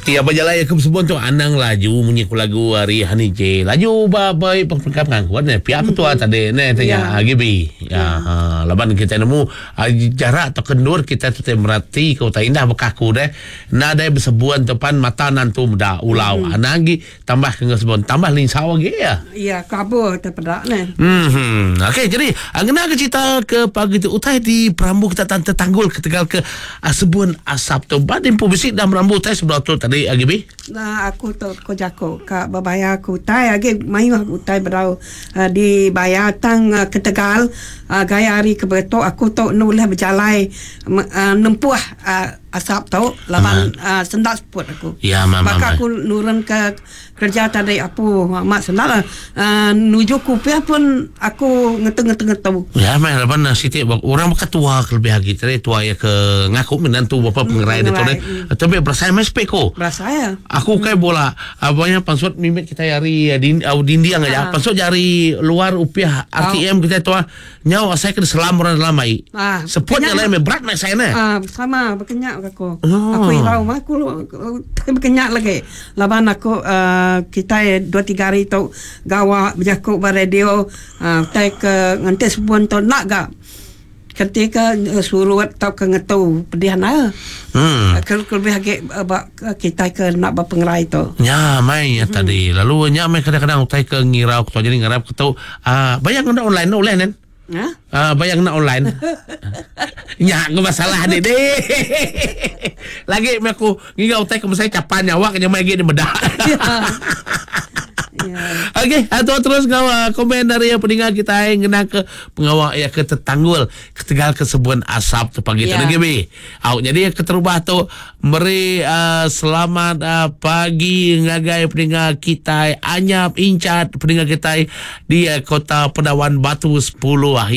Ti ba jalai aku besebun tu anang laju munyi ku lagu ari Honey J. Laju ba ba perengka pengangkut neh pia ketua tadi neh ti nya Gibi. Ya ha laban kitai nemu jarak tauka endur kitai tu ti merati ke utai indah baka aku deh nadai besebun tu pan mata nantu meda ulau anang agi Tambah ke enggau sebun tambah linsau agi iya. Iya kabur te peda neh. Mhm. Okey jadi ngena ke cerita ke pagi tu utai di perambu kita tan tetanggul ketegal ke sebun asap tu. Ba di empu bisi dah merambu utai sebedau tu tadi agi bi. Nah aku tu ko jaku ka bebayar ke utai agi mayuh utai bedau dibayar tang ketegal gaya hari ke beretu aku tu enda ulih bejalai nempuh Asap tu laban uh, senda seput aku. Ya, ma, Baka aku nurun ke kerja tadi apu amat senda lah. Uh, nuju kupiah pun aku ngetu-ngetu-ngetu. Ya, meh laban uh, siti orang baka tua ke lebih agi tadi tua ya ke ngaku menantu bapa pengerai dia tu deh. Tapi berasai meh sepik ku. Berasai ya. Aku kai bola abangnya pansut mimit kita hari din, uh, dinding aja. Pansut jari luar upiah RTM kita tua. Nyau asai ke diselam orang dalam ai. Ah, Seput nya kenyap lain meh berat meh asai neh. Ah, sama bekenyak ke aku. Oh. Aku irau mah aku bekenyak lagi. Laban aku uh, kitai dua tiga hari tu gawa bejaku ba radio uh, utai ke nganti sebun tu enda ga ketika surut tauka ngetu pedih enda. Hmm. Ke lebih agi ba kitai ke enda bepengerai tu. Nya mai nya tadi. Lalu nya meh kadang-kadang utai ke ngirau ke tu jadi ngarap ke tu Ah, bayar ngena online enda ulih nen. Ha? Ah, bayar ngena online. Nya ke masalah dik deh. Lagi meh aku ngiga utai ke mesai capan nyawa ke nyamai agi dimeda. Ya. Okey, atur terus ngau ah, komen dari peninga kitai ngena ke pengawa iya ke tetanggul ketegal ke sebun asap tu pagi tu Ya. lagi bi. Au jadi keterubah tu Meri selamat pagi ngagai peninga kitai Anyap Incat peninga kitai di Kota Pedawan Batu 10.